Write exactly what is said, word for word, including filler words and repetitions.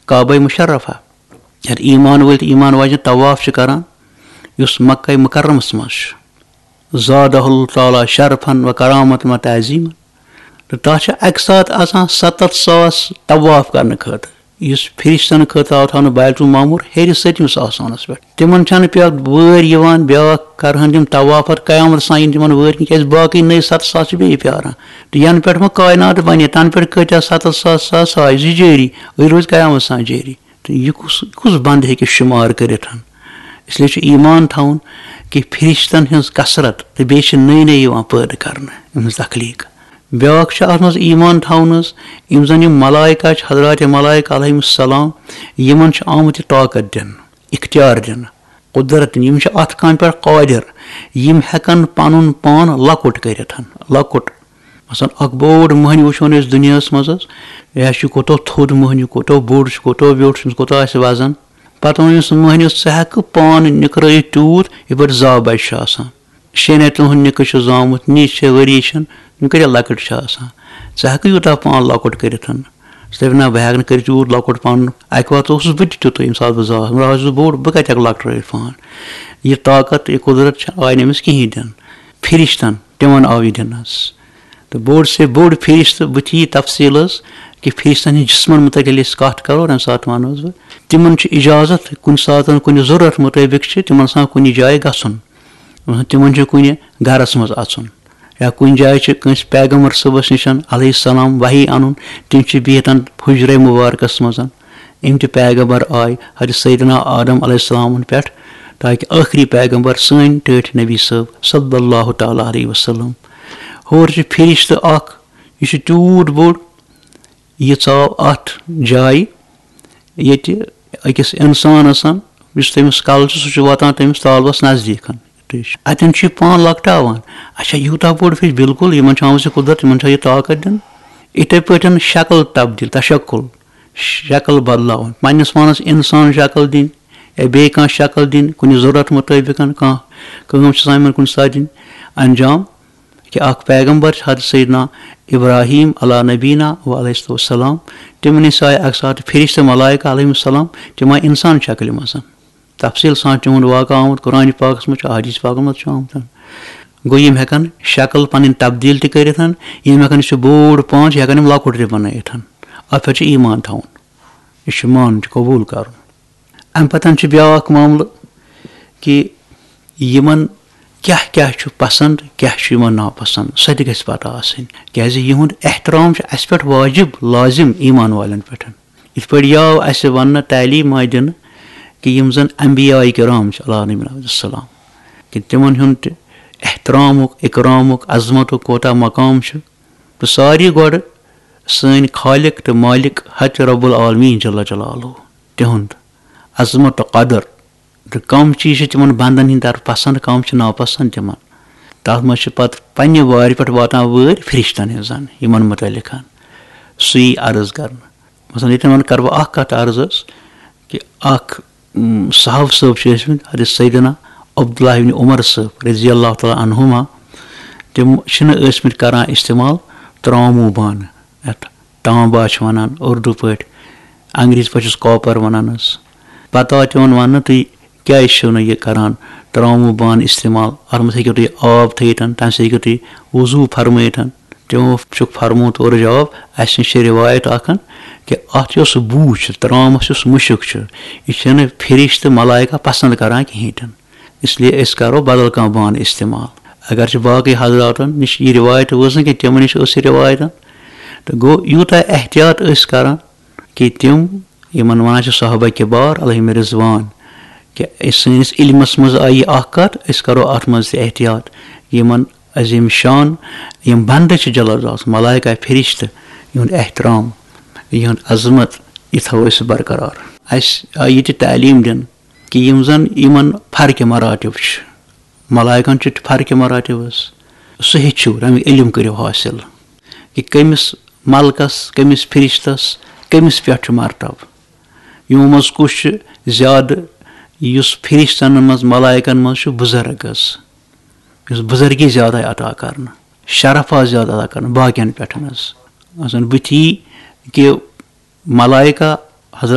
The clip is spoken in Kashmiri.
کعبہ مشرفہ، یتھ ایمان وٲلۍ تہٕ ایمان واجٮ۪ن طواف چھِ کران، یُس مکہ مکرمس منٛز چھُ۔ زادہ اللہ تعالیٰ شرفن و کرامتن و تعظیمن۔ تہٕ تَتھ چھِ اَکہِ ساتہٕ آسان ستتھ ساس طواف کرنہٕ خٲطرٕ، یُس فرشتن خٲطرٕ آو تھاونہٕ بیت المعمور ہیٚرِ سٔتمِس آسمانس پٮ۪ٹھ۔ تِمن چھنہٕ پٮ۪ٹھ وٲرۍ یِوان، بیٛاکھ کرہن تِم طواف پتہٕ قیامتس تام یِن تِمن وٲرۍ کِنہٕ، کیازِ باقٕے نٔے ستتھ ساس چھِ بیٚیہِ پیاران۔ تہٕ ینہٕ پٮ۪ٹھ وۄنۍ کائنات بنے، تنہٕ پٮ۪ٹھ کۭتیاہ ستتھ ساس، ساس آے زِ جٲری، أڑۍ روزِ قیامتس تام جٲری۔ تہٕ یہِ کُس، کُس بنٛد ہیٚکہِ شُمار کٔرِتھ؟ اس لیے چھُ ایمان تھاوُن کہِ فرشتن ہٕنٛز کثرت تہٕ بیٚیہِ چھِ نٔے نٔے یِوان پٲدٕ کرنہٕ، یِہٕنٛز تخلیٖق۔ بیٛاکھ چھُ اتھ منٛز ایمان تھاوُن حظ، یِم زن یِم ملائکہ چھِ، حضرات ملائکہ علیہم السلام، یِمن چھُ آمُت یہِ طاقت دِنہٕ، اختیار دِنہٕ، قدرت دِنہٕ۔ یِم چھِ اتھ کامہِ پٮ۪ٹھ قٲدر، یِم ہٮ۪کن پنُن پان لۄکُٹ کٔرِتھ، لۄکُٹ۔ مثلاً، اکھ بوٚڑ مٔہنیوٗ وٕچھون أسۍ دُنیاہَس منٛز حظ، یہِ ہا چھُ کوٗتاہ تھوٚد مٔہنیوٗ، کوٗتاہ بوٚڑ چھُ، کوٗتاہ ویوٚٹھ چھُ، أمِس کوٗتاہ آسہِ وزن۔ پتہٕ ووٚن أمِس مٔہنیوٗس، "ژٕ ہٮ۪کہٕ پانہٕ نِکرٲیِتھ تیوٗت، یِتھ پٲٹھۍ زا بچہِ چھُ آسان۔ شیٚن رٮ۪تن ہُنٛد نِکہٕ چھُ زامُت، نِچ چھےٚ، ؤری چھَن، یِم کۭتیٛاہ لۄکٕٹۍ چھِ آسان۔ ژٕ ہٮ۪کہٕ یوٗتاہ پان لۄکُٹ کٔرِتھ؟" ژٕ دَپکھ، "نہ، بہٕ ہٮ۪کہٕ نہٕ کٔرِتھ یوٗت لۄکُٹ پان۔ اَکہِ وقتہٕ اوسُس بہٕ تہِ تیُتُے، ییٚمہِ ساتہٕ بہٕ زاس، مگر آز چھُس بہٕ بوٚڑ، بہٕ کَتہِ ہٮ۪کہٕ لۄکٹرٲیِتھ پان؟" یہِ طاقت، یہِ قدرت چھےٚ، آیہِ نہٕ أمِس کِہیٖنۍ دِنہٕ۔ فرشتن تِمن آو یہِ دِنہٕ حظ۔ تہٕ بوٚڑ سے بوٚڑ فرشتہٕ، بہٕ تہِ یی تفصیٖل حظ کہِ فرشتن ہٕنٛدۍ جسمن متعلق ییٚلہِ أسۍ کتھ کرو، تمہِ ساتہٕ ونہٕ حظ بہٕ، تِمن چھُ اجازت کُنہِ ساتن کُنہِ ضروٗرت مُطٲبق چھِ تِمن آسان کُنہِ جایہِ گژھُن۔ تِمن چھُ کُنہِ گرس منٛز اژُن یا کُنہِ جایہِ چھِ کٲنٛسہِ پیغمبر صٲبس نِش علیہ السلام وحی انُن، تِم چھِ بِہِتھ حجرے مبارکس منٛز۔ یِم تہِ پیغمبر آے حضرت سیدنا آدم علیہ السلامن پٮ۪ٹھ، تاکہ ٲخری پیغمبر سٲنۍ ٹٲٹھۍ نبی صٲب صلی اللہ تعالیٰ علیہ وسلم۔ ہورٕ چھُ فرشتہٕ اکھ، یہِ چھُ تیوٗت بوٚڑ، یہِ ژاو اتھ جایہِ ییٚتہِ أکِس انسانس، یُس تٔمِس کلہٕ چھُ، سُہ چھُ واتان تٔمِس طالبس نزدیٖک۔ اتٮ۪ن چھُ یہِ پان لۄکٹاوان۔ اچھا، یوٗتاہ بوٚڑ فرشتہٕ، بالکل، یِمن چھُ آمُت یہِ قدرت، یِمن چھُ یہِ طاقت دِنہٕ۔ یِتھے پٲٹھۍ شکل تبدیل، تشکل، شکل بدلاوٕنۍ، پننِس پانس انسان شکل دِنۍ یا بیٚیہِ کانٛہہ شکل دِنۍ، کُنہِ ضروٗرت مُطٲبِق کانٛہہ کٲم چھِ آسان یِمن کُنہِ ساتہٕ دِنۍ انجام۔ کہِ اکھ پیغمبر چھُ حضرت سیدنا ابراہیم علیٰ نبینا و علیہ السلام، تِمن نِش آے اکہِ ساتہٕ فرشتہٕ ملائکہ علیہم السلام، تِم آے انسان شکلہِ منٛز۔ تفصیٖل سان تِہُنٛد واقعہٕ آمُت قرآن پاکس منٛز چھُ، احادیث پاکس منٛز چھُ آمُت۔ گوٚو، یِم ہٮ۪کن شکل پنٕنۍ تبدیل تہِ کٔرِتھ، یِم ہٮ۪کن، یہِ چھُ بوٚڑ پان، چھِ ہٮ۪کن یِم لۄکُٹ تہِ بنٲیِتھ۔ اتھ پٮ۪ٹھ چھُ ایمان تھاوُن، یہِ چھُ مانُن، چھُ قبوٗل کرُن۔ امہِ پتہٕ چھُ بیٛاکھ معاملہٕ کہِ یِمن کیٛاہ کیٛاہ چھُ پسنٛد، کیٛاہ چھُ یِمن ناپسنٛد، سۄ تہِ گژھِ پتہ آسٕنۍ۔ کیٛازِ یِہُنٛد احترام چھُ اسہِ پٮ۪ٹھ واجب، لازم ایمان والٮ۪ن پٮ۪ٹھ۔ یِتھ پٲٹھۍ یہِ آو اسہِ وننہٕ، تعلیٖم آیہِ دِنہٕ کہِ یِم زن انبیاء کرام چھِ علیہم السلام، کہِ تِمن ہُنٛد تہِ احترامُک، اکرامُک، عظمتُک کوتاہ مقام چھُ۔ تہٕ ساروی گۄڈٕ سٲنۍ خالق تہٕ مالک حضرت رب العالمین جل جلالہ، تِہُنٛد عظمت تہٕ قدر تہٕ کم چیٖز چھِ تِمن بندن ہٕنٛدِ طرفہٕ پسنٛد، کم چھِ ناپسنٛد تِمن۔ تتھ منٛز چھِ پتہٕ پننہِ وارِ پٮ۪ٹھ واتان وٲرۍ فرشتن ہٕنٛز زن یِمن متعلق۔ سُے عرض کرنہٕ۔ مثلاً، ییٚتٮ۪ن وۄنۍ کرٕ بہٕ اکھ کتھ عرض حظ، کہِ اکھ، اۭں، صحابہٕ صٲب چھِ ٲسمٕتۍ، حضرت سیدنا عبداللہ ابن عمر صٲب رضی اللہ تعالیٰ عنہما، تِم چھِنہٕ ٲسمٕتۍ کران استعمال تراموٗ بانہٕ، یتھ تانبا چھِ ونان اردو پٲٹھۍ، انگریزی پٲٹھۍ چھِس کاپر ونان حظ۔ پتہٕ آو تِمن وننہٕ، تُہۍ کیازِ چھِو نہٕ یہِ کران، تراموٗ بانہٕ استعمال؟ اتھ منٛز ہیٚکِو تُہۍ آب تھٲیِتھ، تمہِ سۭتۍ ہیٚکِو تُہۍ وضوٗ فرمٲیِتھ۔ تِمو چھُکھ فرموومُت اورٕ جواب، اسہِ نِش چھِ رِوایت اکھ کہِ اتھ یۄس بوٗ چھِ، ترامس یُس مُشُک چھُ، یہِ چھِنہٕ فرشتہٕ ملائکہ پسند کران کِہیٖنۍ تہِ نہٕ۔ اس لیے أسۍ کرو بدل کانٛہہ بانہٕ استعمال۔ اگرچہِ باقٕے حضراتن نِش یہِ رِوایت وٲژ نہٕ کینٛہہ، تِمن نِش ٲس یہِ رِوایت۔ تہٕ گوٚو، یوٗتاہ احتیاط ٲسۍ کران کہِ تِم، یِمن ونان چھِ صحابہ کبار علیہم رضوان، کہِ سٲنِس علمس منٛز آیہِ یہِ اکھ کتھ، أسۍ کرو اتھ منٛز تہِ احتیاط۔ یِمن عظیم شان، یِم بندٕ چھِ جلال ذات، ملائکہ، فرشتہٕ، یِہُنٛد احترام، یِہُنٛد عظمت، یہِ تھاوو أسۍ برقرار۔ اسہِ آیہِ یہِ تہِ تعلیٖم دِنہٕ کہِ یِم زن یِمن فرقِ مراتب چھِ، ملائکن چھِ فرقِ مراتب حظ، سُہ ہیٚچھِو، تمیُک علم کٔرِو حٲصِل کہِ کٔمِس ملکس، کٔمِس فرشتس، کٔمِس پٮ۪ٹھ چھُ مرتبہٕ۔ یِمو منٛز کُس چھُ زیادٕ، یُس فرشتن منٛز، ملائکن منٛز چھُ بُزرگ حظ، یُس بُزرگی زیادٕ آیہِ عطا کرنہٕ، شرف آو زیادٕ عطا کرنہٕ باقین پٮ۪ٹھ حظ۔ مثلاً بُتھی کہِ ملائکہ